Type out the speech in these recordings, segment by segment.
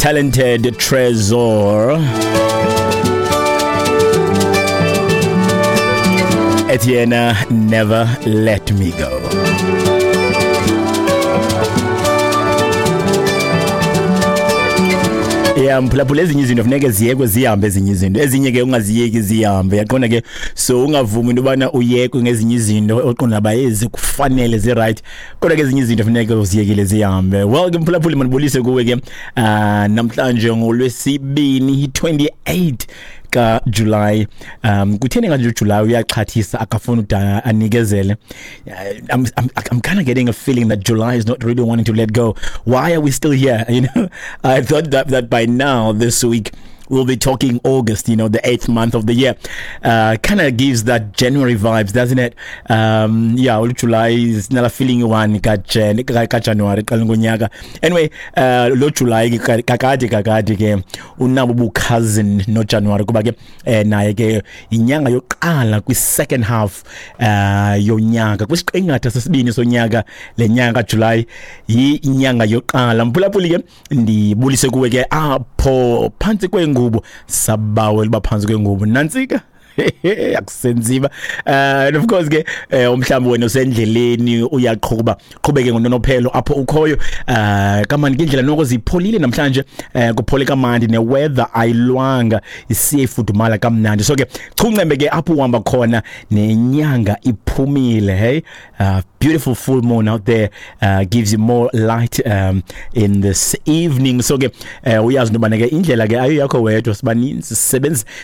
Talented Tresor. Etienne, never let me go. Yeah, mphulaphula, ezinye izinto funeke ziyekwe zihambe, ezinye izinto, ezinye ke ungaziyeki zihambe, yaqonda ke. So ungavumi into yobana uyekwe ngezinye izinto oqonda ba ezi kufanele zi-right, kodwa ke ezinye izinto funeke uziyekile zihambe. Well ke mphulaphuli, mandibulise kuwe ke namhlanje ngolwesibini 28 kaJuly. Kutheni kanje uJuly uyaxhathisa, akafuni udana anikezele? I'm kind of getting a feeling that July is not really wanting to let go. Why are we still here? I thought that by now this week we'll be talking August, the eighth month of the year. Kind of gives that January vibes, doesn't it? Yeah, July is not a feeling one ka January qala ngonyaka. Anyway, lo July kakade kakade ke unabo bu cousin no January, kuba ke naye ke inyanga yokuqala kwi second half yonyaka, kwisiqingatha sesibini sonyaka. Le nyanga July yinyanga yokuqala. Mphulaphuli ke, ndibulise kuwe ke apho phantsi kwengubo, sabawela uba phantsi kwengubo nantsika akusenziba. And of course ke umhlawumbi wena usendleleni uyaqhuba, qhubeke ngononophelo apho ukhoyo. Kamandi ke indlela noko zipholile namhlanje, kuphole kamandi, neweather ayilwanga, isiye ifudumala kamnandi. So ke chuncembe ke apho uhamba khona, nenyanga iphumile. Hey, beautiful full moon out there, gives you more light in this evening. So ke uyazi into yobana ke indlela ke ayo yakho wedwa, sibaninzi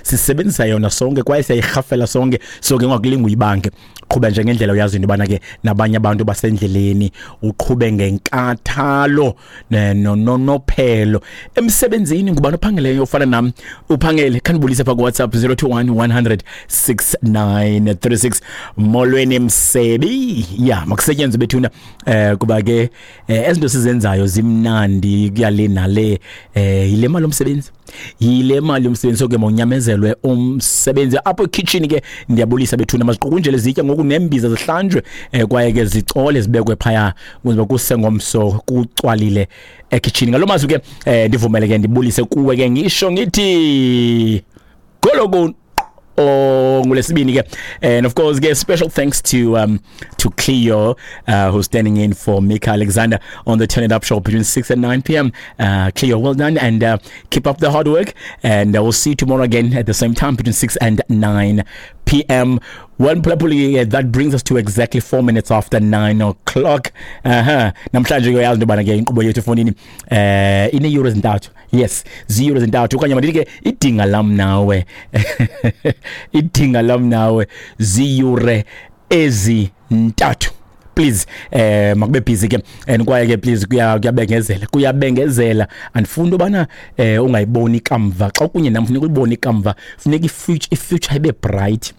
sisebenzisa yona sonke kwaye siyayirhafela sonke. So ke ungakulinga uyibange, qhuba nje ngendlela uyazi into yobana ke nabanye abantu basendleleni, uqhube ngenkathalo nononophelo. Emsebenzini, ngubani ophangeleyo ofana nam? Uphangele, khandibulise pha kuWhatsApp 021 100 6936. Molweni msebi ya, makusetyenzwe bethuna, kuba ke ezinto sizenzayo zimnandi kuyale nale, yile mali yomsebenzi, yile mali yomsebenzi. So ke mawunyamezelwe umsebenzi apho ekitchen ke. Ndiyabulisa bethuna, maziqukunjele zitya ngoku, nembiza zihlanjwe, kwaye ke zicole zibekwe phaya ukuze kusengomso kucwalile ekitchen. Ngalo mazwi ke ndivumele ke ndibulise kuwe ke, ngisho ngithi gologo ngolesibini ke. And of course ke special thanks to Cleo, who's standing in for Mika Alexander on the Turn It Up show between 6 and 9 p.m. Cleo, well done and keep up the hard work, and we'll see you tomorrow again at the same time between 6 and 9 p.m. Well mphulaphuli, that brings us to exactly 4 minutes after 9 o'clock. Namhlanje ke uyazi into yobana ke inkqubo yethu efowunini ineeyure ezintathu. Yes, ziyure ezintathu, okanye mandithi ke idinga lam nawe, idinga lam nawe ziyure ezintathu. Please makube busy ke, and kwaye ke please kuyabengezela, kuyabengezela. Andifuni ubana ungayiboni ikamva. Xa kunye nam funeka ulibone ikamva, funeka i-future ibe bright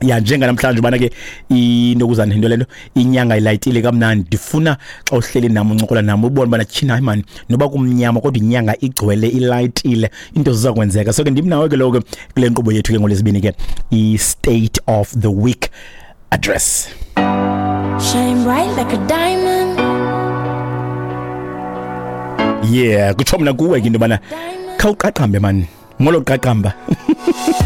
ya, njenganamhlanje ubana ke into kuzana into lento inyanga ilayitile kamnandi. Ndifuna xa uhleli nam uncokola nam ubone ubana tyhini, hayi mani, noba kumnyama kodwa inyanga igcwele, ilayitile, into ziza kwenzeka. So ke ndim nawe ke lowo ke kule nkqubo yethu ke ngolwesibini ke, i-State of the Week Address. Shine bright like a diamond. Yeah, kutsho mna kuwe ke into yobana Diamond. khawuqaqambe mani, molo qaqamba.